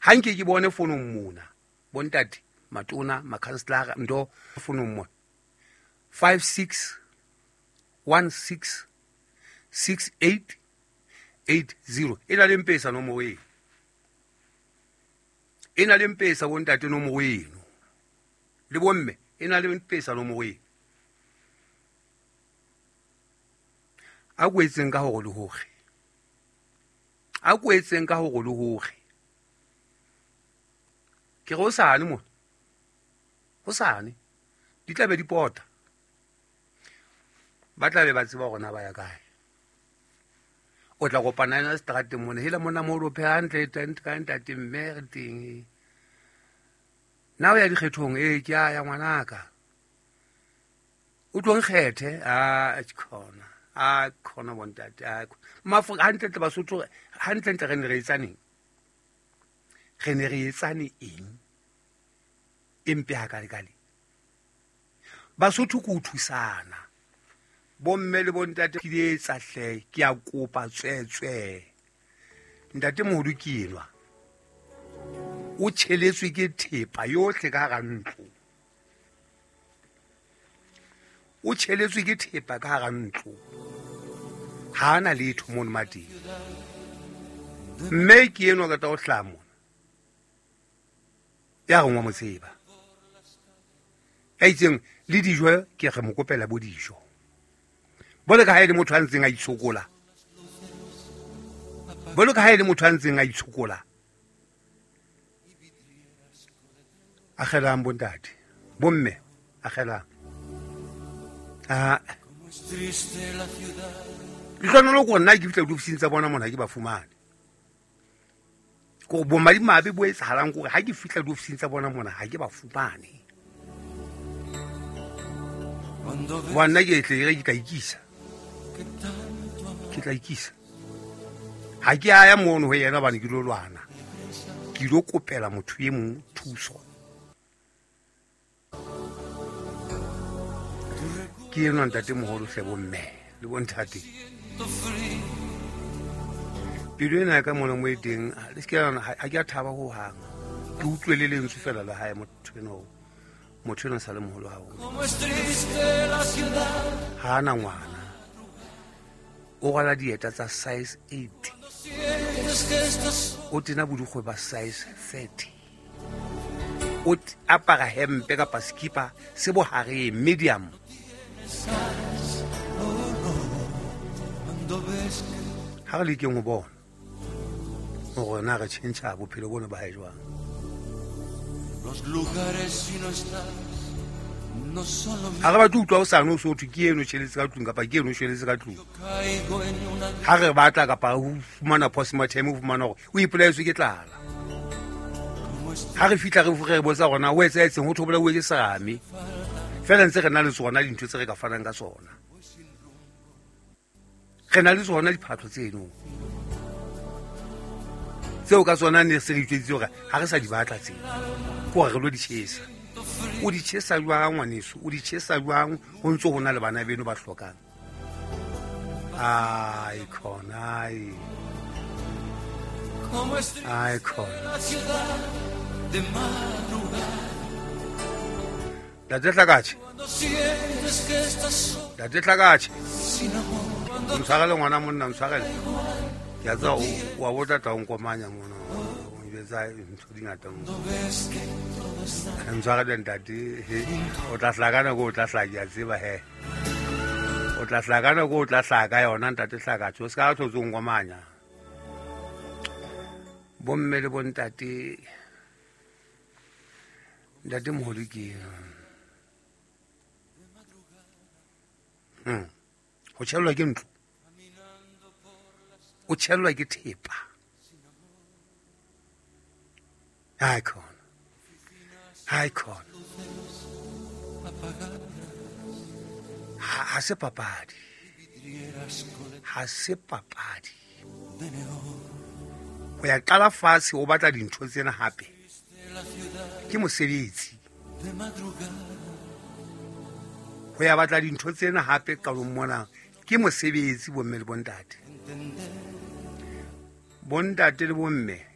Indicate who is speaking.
Speaker 1: Ha nke ke bone fonong mona bontate matona makhanselara ntho fonong mona 56 16 68 80 e na le mpesa nomoro eno, e na le mpesa bontate nomoro eno, le bomme e na le mpesa nomoro eno. A kwetseng ka hore le hore, a kwetseng ka hore le hore ke re hosane mona, hosane di tla be di pota, ba tla be ba tseba hore na ba ya kae. O tla kopana ena seterateng mona, hela mona mo lo pheha hantle ka ntate mme re teng. Na o ya dikgethong? Ee, ke a ya ngwanaka. O tlo nkgethe? A khona, a khona bontate, a Maafrika hantlentle Basotho hantlentle re ne re etsaneng? Re ne re etsane eng e mpe hakalekale? Basotho ke ho thusana. Bomme le bontate ke di etsa hle, ke a kopa tswetswe. Ntate moholo ke enwa, o tjheletswe ke thepa yohle ka hara ntlo, o tjheletswe ke thepa ka hara ntlo, ha ana letho mono mateng. Mme ke enwa ka tla o hlaha mona, ya reng wa mo tseba, ya itseng le dijo ke re mo kopela bo dijo. Bolo ka ha e le motho a ntseng a itshokola, bolo ka ha e le motho a ntseng a itshokola. Agelang bontate, bomme agelang. A lehlonolo ko nna ke fihla diofising tsa bona mona ke ba fumane. Ko bomadimabe bo etsahalang kore ha ke fihla diofising tsa bona mona ha ke ba fumane. Wa nna ke tle ke tla ikisa, ke tla ikisa. Ha ke a ya mono ho yena hobane ke lo lwana, ke ilo kopela motho e mong thuso. Ke enwa ntate moholo hle bomme le bontate. Pelo ena ya ka mona mo e teng, le se ke la nahana, ha ke a thaba hohang. Ke utlwe le lentswe fela la hae motho enwa o. Motho enwa sa le moholo haholo. Ha ana ngwana. O rwala dieta tsa size 8. O tena bodikgwe ba size 30. O apara hempe kapa skipa se bohareng, medium. Ha re lekeng ho bona hore na re tjhentjha bophelo bona ba hae jwang. Ha re batle utlwa hosane o so thwe ke eno tjheletse ka tlung kapa ke eno shweletse ka tlung. Ha re batla kapa ho fumana postmortem, ho fumana hore o ipolaetswe ke tlala. Ha re fihla re botsa hore na o etsahetseng, ho thwe o bolauwe ke serame. Feela ntse re na le tsona dintho tse re ka fanang ka tsona. Re na le tsona diphatlo tseno tseo ka tsona ne se re itjweditse hore ha re sa di batla tseo, ke hore re lo di tjhesa. O di tjhesa jwang ngwaneso? O di tjhesa jwang ho ntso ho na le bana beno ba hlokang? Ai khona, ai. Ai khona. Ntate Hlakatjhe. Ntate Hlakatjhe. Ntshwarele ngwana monna, ntshwarele. Ke a tseba wa bo tla tla o nkomanya mona. O njwetsa ntho di ngata mona. Ntshwarele ntate, he. O tla hlaka nako o tla hlaka, ke a tseba he. O tla hlaka nako o tla hlaka yona ntate Hlakatjhe. O se ka hlotse o nkomanya. Bomme le bontate, ntate moholo ke Ho tjhellwa ke ntlo, o tjhellwa ke thepa. Hai khona, hai khona. Ha se papadi, ha se papadi. Ho ya qala fatshe o batla dintho tsena hape ke mosebetsi. Ho ya batla dintho tsena hape qalong mona ke mosebetsi, bomme le bontate. Bontate le bomme.